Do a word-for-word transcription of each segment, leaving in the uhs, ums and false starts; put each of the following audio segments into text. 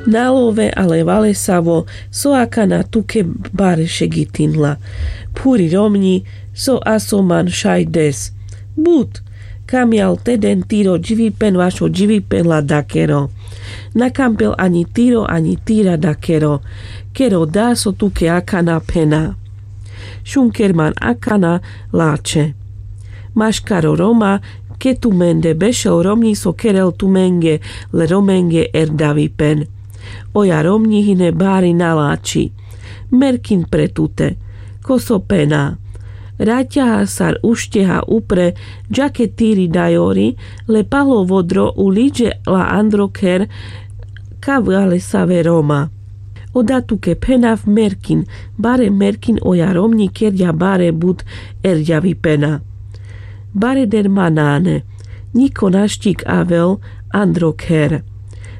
Na love ale valesavo so akana tuke bare šegitinla. Phuri romňi so aso man šaj des. But, kamjal teden tiro dživipen vašo dživipen la dakero. Na kampel aňi tiro aňi tira dakero, kero da so tuke akana phena. Šunker man akana lačhe. Maškaro roma, ke tumende bešel romňi so kerel tumenge le romenge erdavipen. Oja romňi hine bari na lači. Merkin pre tute. Ko so pena. Raťaha sar ušteha upre, džake tiri dajori, le palo vodro u liďe la andro kher, ka valesave roma. Oda tuke phenav merkin, bare merkin oja romňi kerďa bare but erďavipena. Bare dermanane. Ňiko naščik avel andro kher.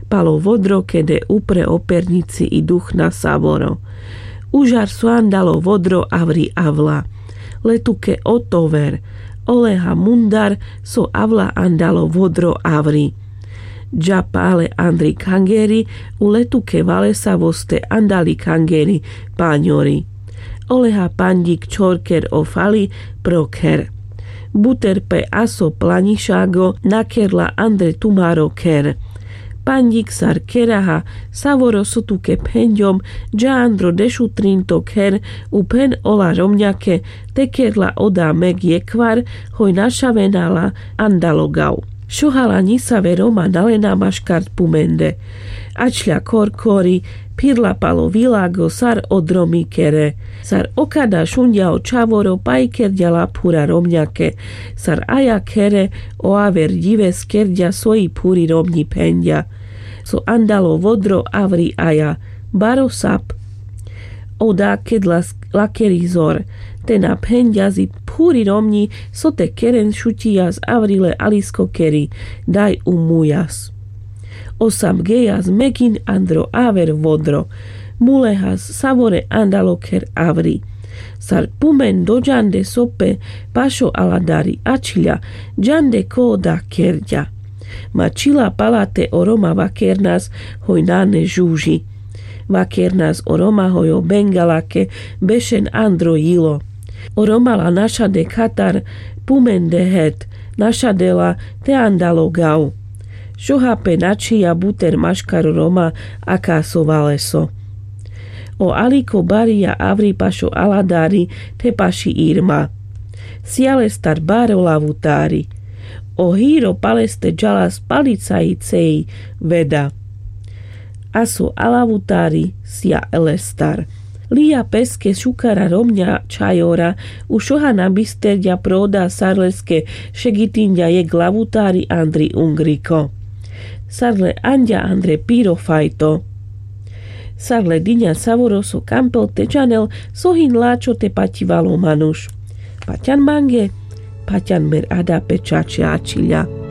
Palo vodro kede upre o perňici i duchna savoro. Užar so andalo vodro avri avla. Le tuke otover. Oleha mundar so avla andalo vodro avri. Dža pale andri kangeri, u le tuke valesavo ste andali kangeri paňori. Oleha panďik čhorker o fali pro kher. Buter pe aso plaňišago nakerla andre tumaro kher. Panďik sar keraha, savoro so tuke phenďom, dža andro dešutrinto kher, u phen ola romňake, te kerla oda meg jekhvar, hoj našavenala andalo gav. Šohala ňisave roma nalena maškar pumende. Ačľa korkori, phirla palo vilago sar o dromi kere. Sar okada šunďa o čhavoro paj kerďa la phura romňake. Sar aja khere o aver ďives kerďa soji phuri romňi phenďa. So andalo vodro avri aja. Baro sap. Oda ked las lakeri zor. Te na phenďa zi phuri romňi so te keren šuťijas avri le alisko keri. Daj u mujas. Osam gejas megin andro aver vodro. Mulehas savore andalo kher avri. Sar pumen doďande so pe pašo aladari ačľa, džande ko oda kerďa. Ma čhila palate o roma vakernas hoj nane žuži. Vakernas o roma hoj o bengalake bešen andro jilo. O roma la našade khatar pumende het, našadela te andalo gav. Šoha pe načhija buter maškaro roma aka so valeso. O aliko barija avri pašo aladari te paši irma. Sija lestar baro lavutari. O hiro paleste džalas palicaji ceji veda. Aso alavutari sija lestar. Lija peske šukara romňa čhajora, u šoha na bisterďa pro oda sar leske šegitinďa jekh lavutari andri ungriko. Sar le anďa andre piro fajto. Sar le diňa savoro so kampel te džanel so hin lačho te paťivalo manuš. Paťan mange, paťan mer ada pe čače ačhiľa.